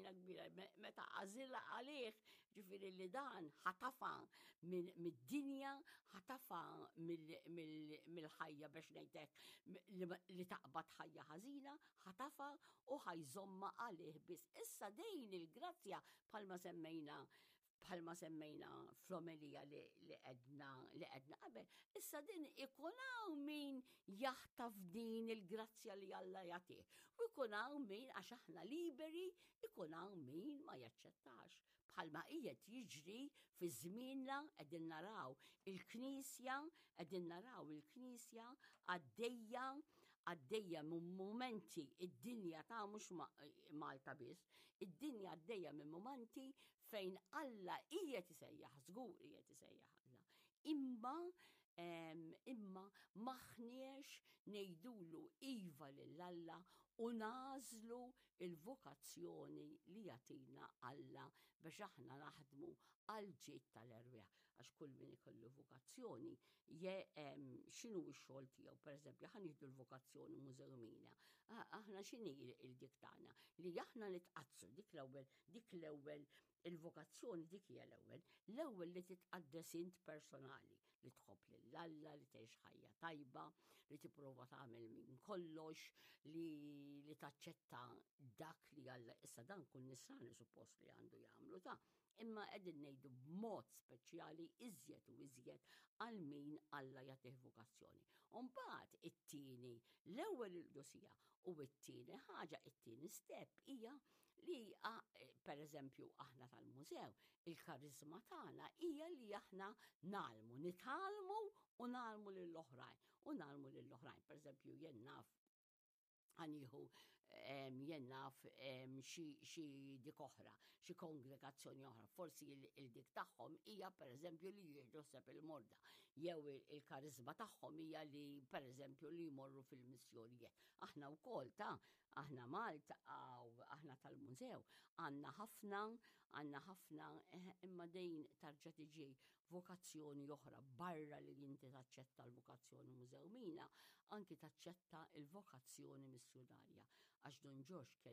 ħnina kbira meta għażilha għalih, ġifieri li dan ħatafa mid-dinja, ħatafa mill-ħajja biex ngħidlek li taqbad ħajja ħażina, ħatafa u ħajżomma għalih biss. Issa dejn il-grazzja bħalma semmejna bħalma semmejna fl-omelija li għedna li għedna qabel, issa din ikun hawn min jaħtaf din il-grazzja li Alla jagħtih. U jkun hawn min għax aħna liberi, ikun hawn min ma jaċċettax. Bħalma qiegħed jiġri fi żmienna qegħdin naraw il-Knisja, qegħdin naraw il-Knisja għaddejja għaddejja minn mumenti id-dinja ta' mhux Malta biss, id-dinja għaddejja minn mumenti fejn Alla qiegħed isejjaħ, żgur qiegħed isejjaħ Alla. Imma imma maħniex ngħidulu iva lil Alla u nagħżlu il-vokazzjoni li jagħtina Alla biex aħna naħdmu għal ġid tal-erwieħ. Għax kull min ikollu vokazzjoni je x'inhu x-xogħol tiegħu, pereżempju, ħa nieħdu l-vokazzjoni mużewmina. Aħna x'inhi il-dik tagħna? Li aħna nitqaddsu dik l-ewwel Dik l-ewwel il-vokazzjoni dik hija l-ewwel. L-ewwel li titqaddes int personali, li tħobb lil Alla, li tgħix ħajja tajba, li tipprova tagħmel minn kollox, li, li taċċetta dak li Alla issa dan kull nisrani suppost li għandu jagħmlu ta' imma qegħdin ngħidu b'mod speċjali iżjed u iżjed għal min Alla jagħtih vokazzjoni. U mbagħad it-tieni, l-ewwel il-qdusija u t-tieni ħaġa, it-tieni step hija li eh, per eżempju aħna tal-mużew, il-karizma tagħna hija li aħna nalmu, nitgħallmu u nalmu lill-oħrajn u nalmu lill-oħrajn. Per eżempju, jien naf għaniħu jien naf xi dik oħra, xi kongregazzjoni oħra, forsi il-dik tagħhom hija per eżempju li jieħdu seb il-morda, jew il-karizma tagħhom hija li per eżempju li jmorru fil-missjonijiet. Aħna wkoll ta' Aħna Malta, aħna tal-mużew, għandna ħafna, għandna ħafna, eh, imma dejn tarġa tiġi vokazzjoni oħra barra li inti taċċetta l-vokazzjoni mużewmina, anki taċċetta il-vokazzjoni missjunarja. Għax Don Ġorġ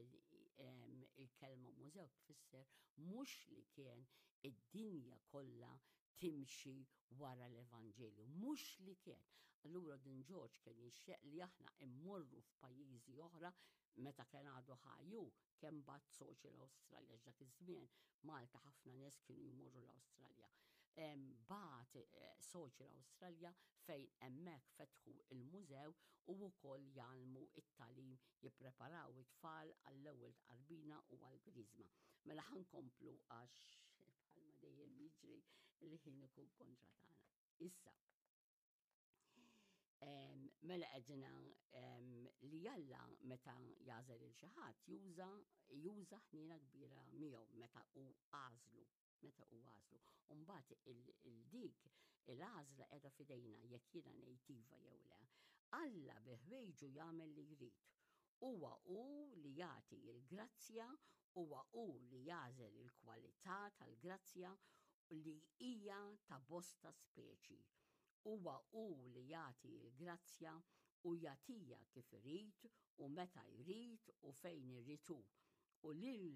il-kelma mużew tfisser mhux li kien id-dinja kollha timxi wara l-Evanġelju, mhux li kien. Allura din Ġorġ kien jixxeq li aħna immorru f'pajjiżi oħra meta kien għadu ħaju kemm bat soċi l-Awstralja dak iż-żmien Malta ħafna nies kienu jmorru l-Awstralja. Bat eh, soċi l-Awstralja fejn hemmhekk fetħu il-mużew u wkoll jgħallmu it-talim jippreparaw it-tfal għall-ewwel tqarbina u għall-griżma. Mela ħankomplu għax bħalma dejjem jiġri li ħin ikun kontra tagħna. Issa, mela qegħdina li Alla meta jażel il xi ħadd juża juża ħniena kbira miegħu meta hu għażlu meta u għażlu. Umbagħad il-dik il-għażla qiegħda fidejna jekk jiena ngħid iva jew le. Alla bi ħwejġu jagħmel li jrid. Huwa hu li jagħti l-grazzja, huwa hu li jagħżel il-kwalità tal-grazzja li hija ta' bosta speċi. Huwa hu li jagħti l-grazzja u jagħtiha kif irid u meta jrid u fejn irid hu. U lil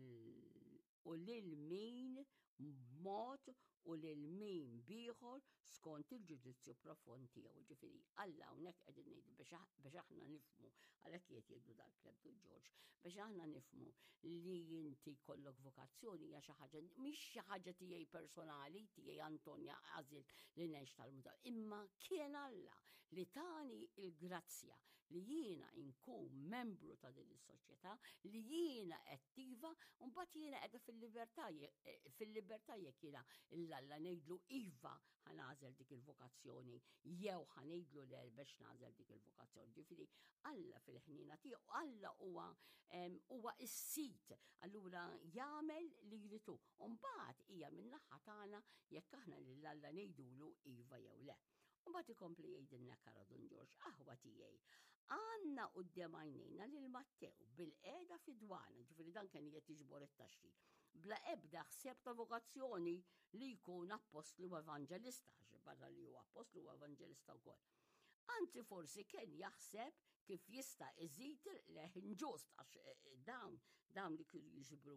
u lil min b'mod u lil min b'ieħor skont il-ġudizzju profond tiegħu. Ġifieri, Alla hawnhekk qegħdin ngħidu biex aħna nifhmu, għalhekk qiegħed jgħidu dal-kleb du Ġorġ, biex aħna nifhmu li inti kollok vokazzjoni hija xi ħaġa mhix xi ħaġa tiegħi personali, tiegħi Antonja għażilt li ngħix tal-mużew, imma kien Alla li tani il-grazzja li jiena inkun membru ta' din is-soċjetà, li jiena attiva, u mbagħad jiena qiegħda fil-libertà eh, fil-libertà jekk jiena l-Alla ngħidlu iva ħanażel dik il-vokazzjoni jew ħanejdlu le biex nagħżel dik il-vokazzjoni. Ġifieri Alla fil-ħniena tiegħu, Alla huwa huwa s-sit, allura jagħmel li jrid hu. U mbagħad hija min-naħa tagħna jekk aħna lil Alla ngħidulu iva jew le. U mbagħad ikompli jgħidilna Kara Dun Ġorġ, aħwa tiegħi, għandna quddiem għajnejna lil Mattew bil-qiegħda fid-dwana, ġifieri dan kien qed jiġbor it-taxxi, bla ebda ħsieb ta' vokazzjoni li jkun appostlu u evanġelista, għax barra li huwa appostlu u evanġelista wkoll. Anzi forsi kien jaħseb kif jista' iżid il-leħ inġust għax eh, eh, dawn dawn li kienu jiġbru